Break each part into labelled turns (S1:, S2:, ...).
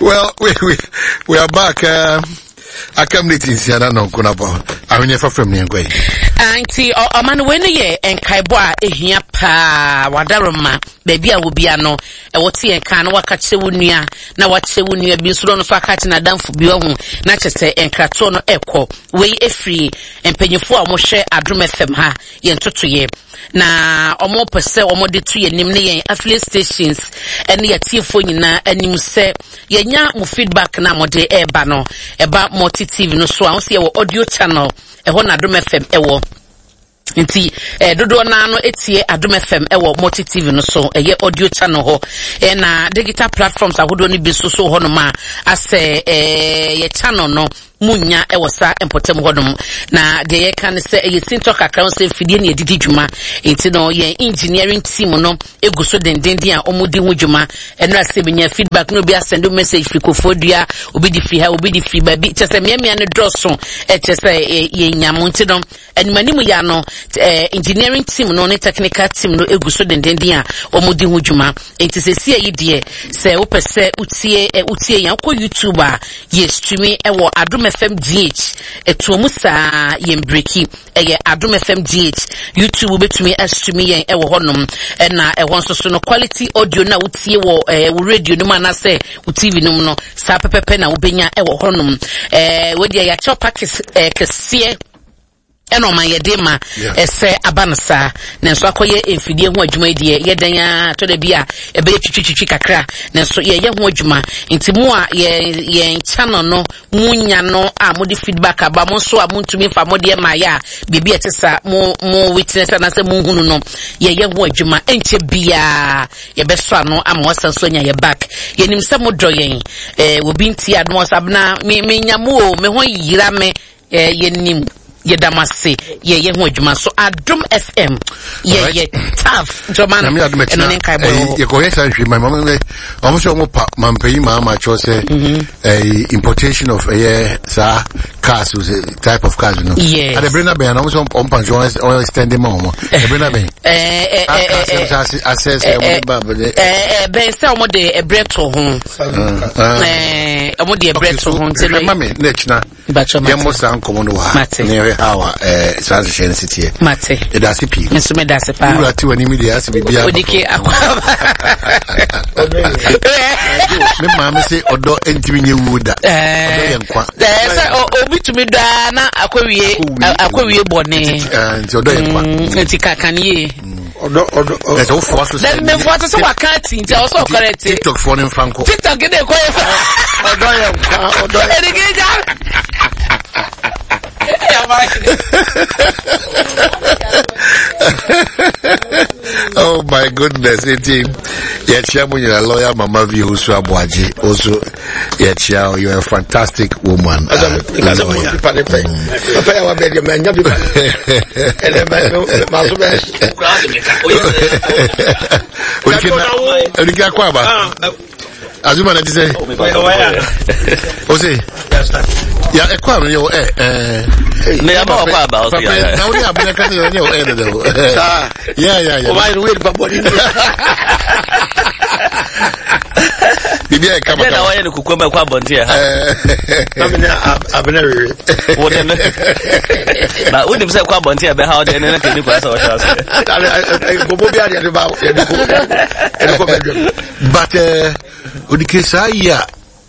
S1: Well, we are back. Aka minute nsia na nɔnko na bɔ ahweneɛ fa fam ne yɛnkɔ yi.
S2: Ah, nti ɔma no wei no yɛ nkaebɔ a ɛhia paa wadaroma baabi a wobia no ɛwɔ te yɛn kan na waka kyerɛ wo nua na wakyerɛ wo nua bi nso na ɔno nso aka kyerɛ n'adamfo bi ɔho na kyerɛ sɛ nkratoɔ no ɛkɔ wei ɛfiri mpanyinfoɔ a wɔhwɛ Adom FM ha yɛn ntotoeɛ na wɔpɛ sɛ wɔde to yɛn anim ne yɛn affiliate stations ne yɛtiefoɔ nyinaa anim sɛ yɛnya mo feedback na mode ɛreba no ɛba multi tv no so a wɔsi yɛwɔ audio channel ɛhɔ na Adom FM ɛwɔ nti eh, dodoɔ naa no etie Adom FM ɛwɔ multi tv no so ɛyɛ audio channel hɔ ɛna digital platforms ahodoɔ no bi nso so hɔ nom a asɛ eh, yɛ channel no munnya wɔ saa mpɔtam hɔnom. Na deɛ yɛka ne sɛ ɛyɛ sintɔ kakra ho sɛ mfidie ne yɛde di dwuma. Nti no yɛn engineering team no egu so dendenden a wɔdi ho dwuma. Ɛno ase menya feedback na obi asɛnde message firi Koforidua, obi de firi ha, obi de firi baabi. Kyerɛ sɛ mmeammea no dɔɔso ɛkyerɛ sɛ yɛnya mo nti no Animanim ya no, eh, engineering team no ne technical team no egu so dendenden a wɔdi ho dwuma. Enti sesia yi deɛ, sɛ wopɛ sɛ wotie eh, wotie yɛn, wokɔ YouTube a, yɛ streami ɛwɔ Adom FM GH. Ɛtoa mu saa, yɛn breki. Ɛyɛ Adom FM GH. YouTube wobɛtumi astreami yɛn ɛwɔ hɔnom. Ɛna ɛhɔ nso so no, quality audio no a wotie wɔ eh, wo radio no mu anaasɛ wo TV no mu no, saa pɛpɛpɛ na wobɛnya ɛwɔ hɔnom. Eh, wei deɛ yɛakyɛw package eh, kɛseɛ ɛna ɔma yɛde ma ɛsɛ aba no saa nanso akɔyɛ mfidie ho adwuma yi deɛ yɛ dɛn ara tɔ da bi a ɛbɛyɛ twitwitwitwi kakra nanso yɛyɛ ho adwuma nti mo a yɛn yɛn channel no mo nya no a mo de feedback aba mo nso a mo ntumi nfa mo deɛ ma yɛ a biribi a ɛte saa mo mo witness anaasɛ mo nhunu no yɛyɛ ho adwuma ɛnkyɛ biara yɛbɛsɔ ano ama wasan so anya yɛ back yɛnim sɛ mo dɔ yɛn ɛɛ obi nti adom ɔsabena me me nya mo o me ho yira me Eh, yɛnim yɛda mo ase yɛyɛ ho adwuma so Adom FM yɛyɛ tough ntɔma no ɛno ne nkaebɔ wɔ hɔ
S1: yɛkɔyɛ saa nhwɛ ma ɔmo sɛ ɔmo pa mampanyin maa ma kyerɛ sɛ mhm. eh, importation of ɛyɛ saa cars type of cars no
S2: yes
S1: ade bere na bɛn na ɔmo sɛ ɔmo pa nso ɔmo extend ma ɔmo ɛbere na bɛn
S2: ɛɛ
S1: ɛɛ asɛ sɛ ɔmo de ba
S2: ɛɛ bɛn sɛ ɔmo de ɛbrɛ to ho ɛɛ ɔmo de ɛbrɛ to ho nti
S1: no ma me na ɛkyina yɛmmɔ saa nkɔmmɔ no wɔ ha na yɛhwɛ how a eh, saa nhyehyɛ no si teɛ
S2: mate
S1: yɛda ase pii
S2: nso meda ase paa
S1: wura te w'anim deɛ ase biribiara
S2: odike akɔ
S1: me maame se ɔdɔ ntumi nyɛ wuo da
S2: eh.
S1: ɔdɔ yɛ nkwa
S2: eh, sɛ obi tumi daa na akɔwie akɔwie bɔne
S1: nti ɔdɔ yɛ nkwa
S2: mm, nti kakan yie
S1: mm. ɔdɔ ɔdɔ ɔdɔ ɛsɛ wofoa so
S2: sɛ mmefoa so sɛ waka ati nti ɔsɛ ɔkɔrɛ ti
S1: tiktok foɔ no mfa nkɔ
S2: tiktok de kɔ yɛ fa
S3: ɔdɔ yɛ nkwa ɔdɔ yɛ
S2: ɛdigi gya
S1: oh my goodness eti yɛkyia mu nyina lawyer mama vi osu aboagye osu yɛkyia o you're a fantastic woman uh, lawyer
S3: papa yɛ wa bɛ deɛ mɛ nya bi ba ɛnɛ mɛ mɛ so bɛ
S1: odike akɔ aba azuma na ti sɛ o se ya ɛkɔ aba yɛ o ɛ ɛɛ
S4: ne yaba wakɔ aba ɔsi
S1: ya na o ni abirɛ kan yɛ o ɛ dɛdɛ o ya ya ya
S3: o b'a yɛrɛ o yɛrɛ ba bɔ ni.
S1: biribi ayɛ kama
S4: kama. na wayɛ no kukuo ma ɛkɔ abɔnten ha.
S3: Amina abena wewe.
S4: Wo de no. Na wonim sɛ ɛkɔ abɔnten a ɛbɛha wo deɛ ne na kɛni kwan sɛ wɔhyɛ ase.
S3: Nkɔmɔ bi adeɛ de ba yɛde kɔ yɛde kɔ bɛdwam.
S1: But odike saa yi a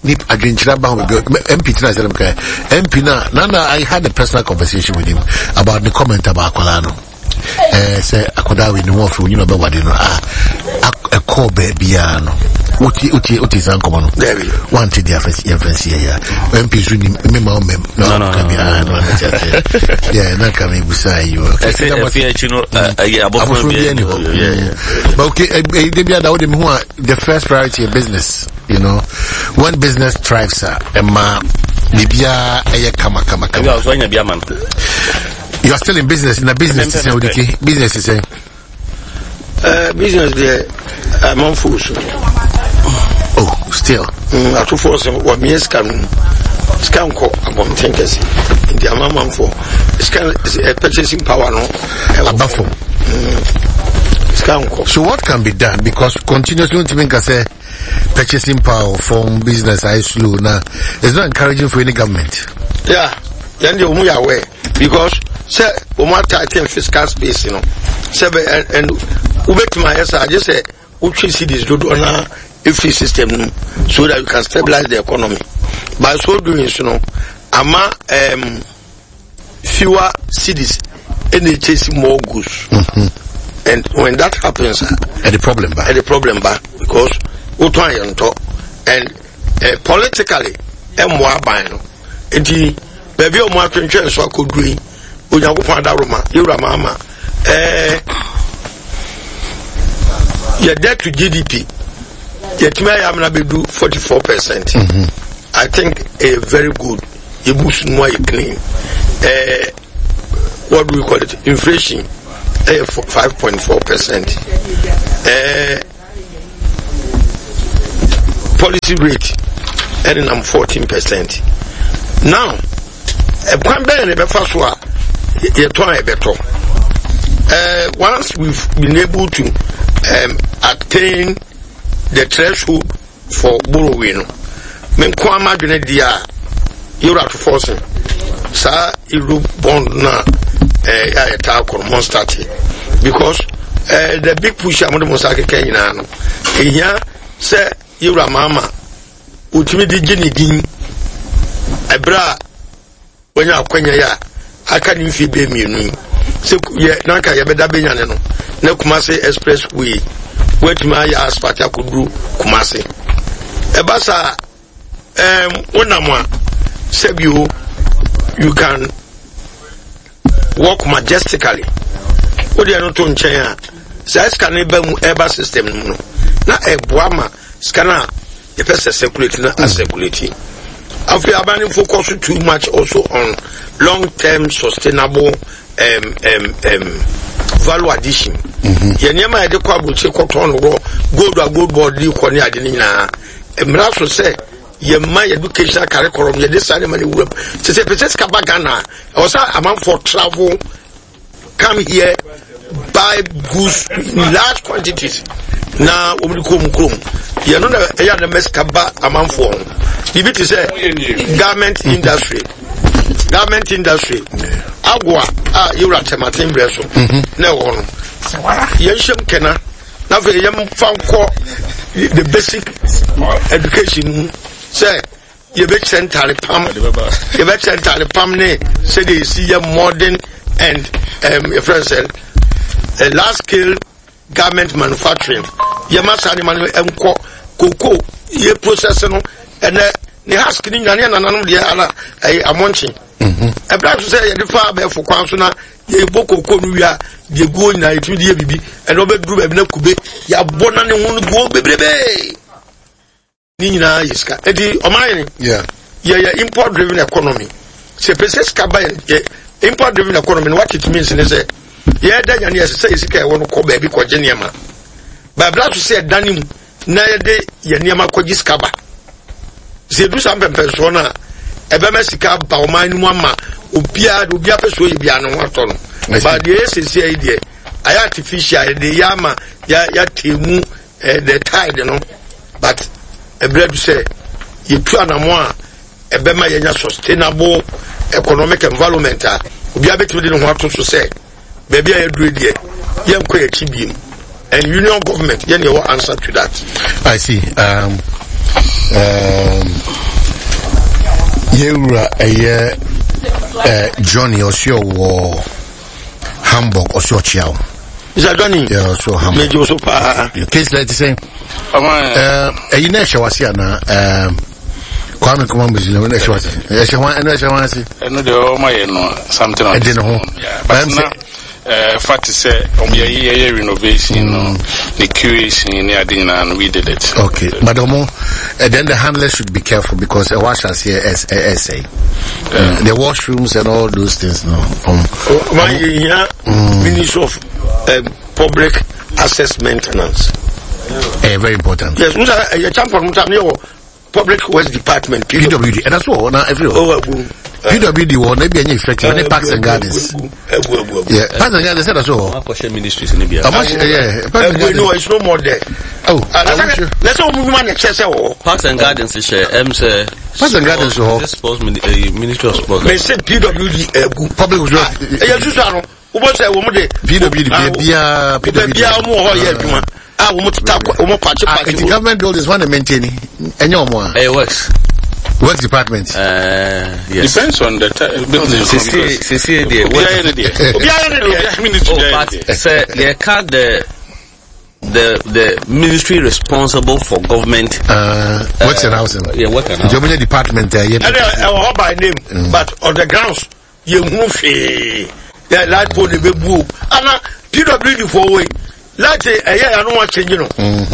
S1: ni adwenkyerɛ ba ho baabi MP tena sɛ ka MP na na I had a personal conversation with him about the comment about akwadaa no. ɛɛ sɛ akwadaa wei ne ho ɔfɛ onyin ɔbɛwade no a ɛkɔɔ baabiara no wotie wotie wotie saa nkɔmɔ no wante deɛ afɛ yɛmfa nsi yɛ ya mp so nim mema wo mɛm na ɔka bi ah no ante ase yɛ na nka mebusa yi o
S4: ɛsɛ ɛfi akyi no ɛyɛ abɔfra bi
S1: ani hɔ but okay ɛyi de bi ada wode me ho a the first priority is business you know when business thrives a ɛma biribiara ɛyɛ kama kama kama
S4: ɛbi a ɔso anya bi ama no
S1: You are still in business. In a business, say odike. Business say.
S3: Business there, I'm on full so.
S1: Oh, still.
S3: Atofo sɛ wɔmeyɛ sika no sika nkɔ abɔnten kɛse nti ama amanfoɔ sika purchasing power no
S1: aba fam.
S3: Sika nkɔ.
S1: So what can be done? Because continuously ntumi nka sɛ. purchasing power from business ayɛ slow na it's not encouraging for any government.
S3: Yeah, yɛn deɛ wɔn yɛ aware because sɛ wɔn atighten fiscal space no sɛ bɛ ɛn wobɛtumi ayɛ saa agye sɛ wotwe cedis dodoɔ na efiri system no so that you can stabilize the economy by so doing so no ama fewer cedis ɛna ekyesi more goods. And when that happens,
S1: and the problem ba,
S3: and the problem ba, because wotɔn ayɛ ntɔ and politically ɛmmoa aban no nti baabi a wɔn atwentwɛn so akɔduru yi Onyankopɔn adaworoma yɛwura maama ɛɛ yɛ debt to GDP yɛtumi ayɛ amena bɛdu 44%. I think ɛyɛ very good. Yɛ books no mu ayɛ clean. Ɛɛ what do we call it? Inflation ɛyɛ 5.4%. Ɛɛ policy rate ɛne nam 14%. Now ɛkwan bɛyɛ na ɛbɛfa so a yɛtɔn a yɛbɛtɔ. Ɛɛ once we've been able to attain the threshold for borrowing no, me nko ama adwene deɛ a yɛwura to force saa euro bond na ɛɛ a yɛtaa kɔ no mo start because the big push a mo de mo nsa akeka nyinaa no ehia sɛ yɛwura maama otumi de gye ne din ɛberɛ a wanya akwanya yi a aka ne mfie bɛyɛ mmienu yi sɛ yɛ nanka yɛbɛda bɛnya ne no na Kumase express way watumi ayɛ asphalt akɔduru Kumase ɛba saa wonam a sɛbio you can walk majestically wode ɛno to nkyɛn a saa sika no ba mu ɛba system no mu no na ɛboa ma sika no a yɛpɛ sɛ circulate na acirculate. Afei aban no focus too much also on long term sustainable value addition. Yɛ nneɛma a yɛde kɔ aburokyire kɔtɔn no wɔ gold a gold board de kɔ ne ade no nyinaa mmara so sɛ yɛma yɛ education curriculum yɛde saa nneɛma no wuram sɛ sɛ pɛ sɛ sika ba Ghana a ɛwɔ sɛ amanfoɔ travel come here buy goods in large quantities na wɔn de kɔ wɔn kurom yɛn no na ɛyɛ anam sika ba amanfoɔ ho biribi te sɛ garment industry garment industry agoa a yɛwura tɛmaten brɛ so na ɛwɔ no yɛn hyɛm kɛna na afei yɛn fa nkɔ the basic education mu sɛ. Yɛbɛkyerɛ ntare pam, yɛbɛkyerɛ ntare pam ne sɛdeɛ yɛsi yɛ modern and yɛfrɛ no sɛ large scale garment manufacturing. Yɛma saa nneɛma no nkɔ koko yɛ process no ɛnɛ ne husk ne nyina ne nananom deɛ ana ɛyɛ amɔnkye. Ɛberɛ so sɛ yɛde fa abɛɛfo kwan so na yɛbɔ koko no wie a deɛ guo nyinaa yɛtumi de yɛ biribi ɛna ɔbɛduru baabi na kube yɛabɔ na ne ho no guo bebrebe. Ne nyinaa yɛ sika. Eti ɔman yɛn yɛyɛ import driven economy. Sɛ pɛ sɛ sika ba yɛ import driven economy no what it means ne sɛ yɛda nyane yɛsɛ sɛ yɛ sika ɛwɔ no kɔ baabi kɔgye nneɛma. Baabla so sɛ ɛda ne mu na yɛde yɛ nneɛma kɔgye sika ba. Sɛ edu saa mpɛmpɛnsoɔ no a ɛbɛma sika ba ɔman no mu ama obiara de obiara pɛ so yɛ biara ne ho atɔ no. Ba deɛ yɛ sɛsi yi deɛ ayɛ artificial yɛde yɛ ama yɛatɛ mu the tide no but ɛberɛ du sɛ yɛtu anamo a ɛbɛma yɛnya sustainable economic environment a obiara bɛtumi de ne ho ato so sɛ baabi a yɛdure deɛ yɛnkɔ yɛkyi biem and union government yɛne yɛwɔ answer to that.
S1: I see. Yɛwura ɛyɛ Johnny ɔsɛ ɔwɔ Hamburg ɔsɛ ɔkyea wo.
S3: Mr. Johnny.
S1: Yeah, so Hamburg.
S3: Mejo so paa.
S1: Case like sɛ ɛyi na ɛhyɛ wase anaa Kwame Nkrumah Museum na ɛhyɛ wase ɛhyɛ hwan ɛno ɛhyɛ hwan ase.
S5: Ɛno deɛ ɔma yɛ no something on
S1: ɛde ne ho.
S5: But na fa te sɛ ɔmo yɛ yɛ renovation no ne curation ne ade nyinaa no we did it.
S1: Okay, but ɔmo then the handlers should be careful because ɛwɔ ahyɛ aseɛ ɛsɛe. The washrooms and all those things no.
S3: Ɔma yɛ hia Ministry of Public Access Maintenance.
S1: Very important.
S3: Yes, musa yɛ champion musa ne yɛ wɔ Public Works Department.
S1: PWD. And that's all. Now every.
S3: Oh, agu.
S1: PWD wɔ na ebi ɛnyɛ effective ɛne parks and gardens. Yeah, parks and gardens ɛda so hɔ.
S4: Akɔhyɛ ministries ni bia.
S1: Ɔmo hyɛ yeah, parks and gardens.
S3: No, it's no more there.
S1: Oh,
S3: na sɛ ɔmo nnwuma na ɛkyɛ sɛ wɔ hɔ.
S4: Parks and gardens hyɛ ɛm sɛ.
S1: Parks and gardens wɔ hɔ.
S4: Sports ministry of sports.
S3: Mɛ sɛ PWD ɛgu.
S1: Public works.
S3: Ɛyɛ susu ano wobɔ sɛ wɔn de.
S1: PWD baabiara PWD.
S3: Baabiara wɔn wɔ hɔ yɛ adwuma a wɔn teta wɔn pakye pakye.
S1: Nti government buildings wɔn na maintain ɛnyɛ wɔn a.
S4: Ɛyɛ works.
S1: Works department.
S4: Yes.
S5: Depends on the type.
S4: Sisi sisi deɛ.
S5: Obiara ne deɛ.
S3: Obiara ne deɛ.
S5: Ministry
S4: Oh, but sɛ yɛ ka the ministry responsible for government.
S1: Works and housing.
S4: Yeah, work and housing.
S1: Germany department. Yeah.
S3: Ɛnna ɛwɔ hɔ by name but on the grounds yɛ hu hwee yɛ light pole de bɛ bu o ana pwd fo wei light ɛyɛ yɛ ano akyɛnyi no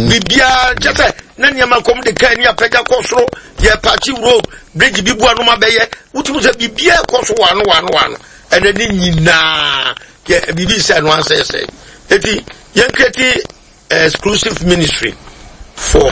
S3: biribiara kyɛ sɛ na nneɛma kɔm de kaa ni apɛgya kɔ soro yɛ paakye road bridge bi bu ano ma bɛyɛ wotumi sɛ biribiara kɔ so wano wano wano ɛnɛ ne nyinaa yɛ biribi sɛ ɛno ansɛsɛ eti yɛn create exclusive ministry for.